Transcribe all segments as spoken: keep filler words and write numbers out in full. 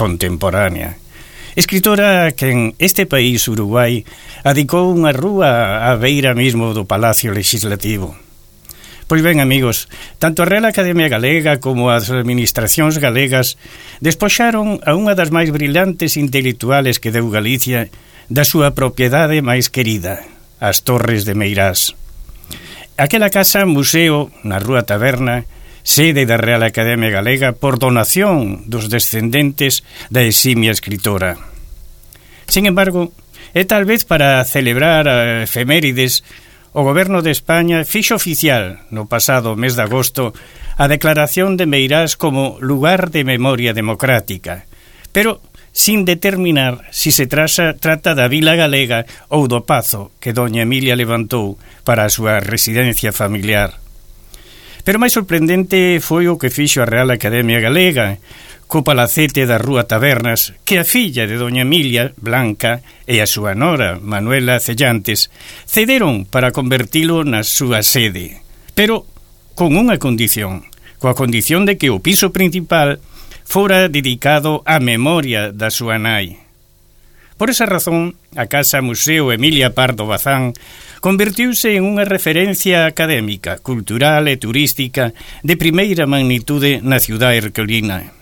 contemporánea. Escritora que en este país, Uruguai, adicou unha rúa á beira mesmo do Palacio Legislativo. Pois ben, amigos, tanto a Real Academia Galega como as administracións galegas despoxaron a unha das máis brillantes intelectuales que deu Galicia da súa propiedade máis querida, as Torres de Meirás. Aquela casa museo na Rúa Taberna, sede da Real Academia Galega por donación dos descendentes da eximia escritora. Sin embargo, é tal vez para celebrar a efemérides, o Goberno de España fixo oficial no pasado mes de agosto a declaración de Meirás como lugar de memoria democrática, pero sin determinar si se trasa, trata da vila galega ou do pazo que doña Emilia levantou para a súa residencia familiar. Pero máis sorprendente foi o que fixo a Real Academia Galega co palacete da Rúa Tabernas, que a filla de doña Emilia, Blanca, e a súa nora, Manuela Cellantes, cederon para convertilo na súa sede, pero con unha condición, coa condición de que o piso principal fora dedicado á memoria da súa nai. Por esa razón, a Casa Museo Emilia Pardo Bazán convertiuse en unha referencia académica, cultural e turística de primeira magnitude na cidade herculina.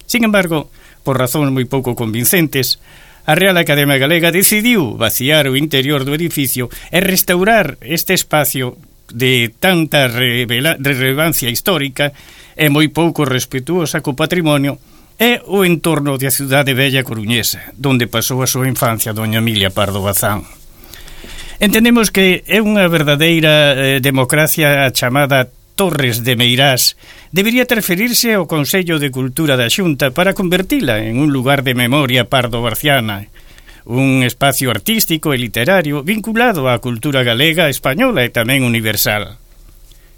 Sin embargo, por razóns moi pouco convincentes, a Real Academia Galega decidiu vaciar o interior do edificio e restaurar este espacio de tanta revela- relevancia histórica e moi pouco respetuosa co patrimonio é o entorno da cidade bella coruñesa, donde pasou a súa infancia doña Emilia Pardo Bazán. Entendemos que é unha verdadeira eh, democracia chamada Torres de Meirás. Debería transferirse ao Consello de Cultura da Xunta para convertila en un lugar de memoria pardo-barciana, un espacio artístico e literario vinculado á cultura galega, española e tamén universal.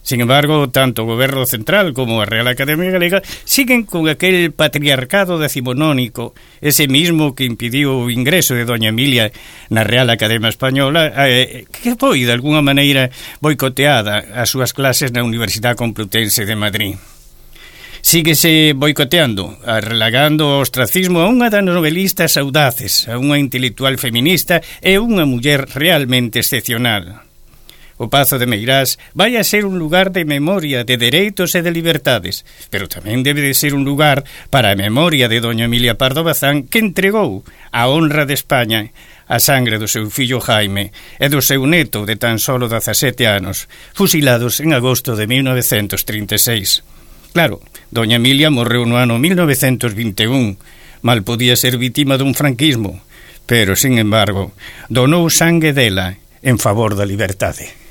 Sin embargo, tanto o Goberno Central como a Real Academia Galega siguen con aquel patriarcado decimonónico, ese mismo que impidiu o ingreso de doña Emilia na Real Academia Española, eh, que foi, de alguna maneira, boicoteada as súas clases na Universidade Complutense de Madrid. Síguese boicoteando, relagando o ostracismo a unha das novelistas audaces, a unha intelectual feminista e unha muller realmente excepcional. O Pazo de Meirás vai a ser un lugar de memoria de dereitos e de libertades, pero tamén debe de ser un lugar para a memoria de doña Emilia Pardo Bazán, que entregou a honra de España a sangre do seu fillo Jaime e do seu neto de tan solo dezasete anos, fusilados en agosto de mil novecentos trinta e seis. Claro, doña Emilia morreu no ano mil novecentos vinte e un, mal podía ser vítima dun franquismo, pero, sin embargo, donou sangue dela en favor da liberdade.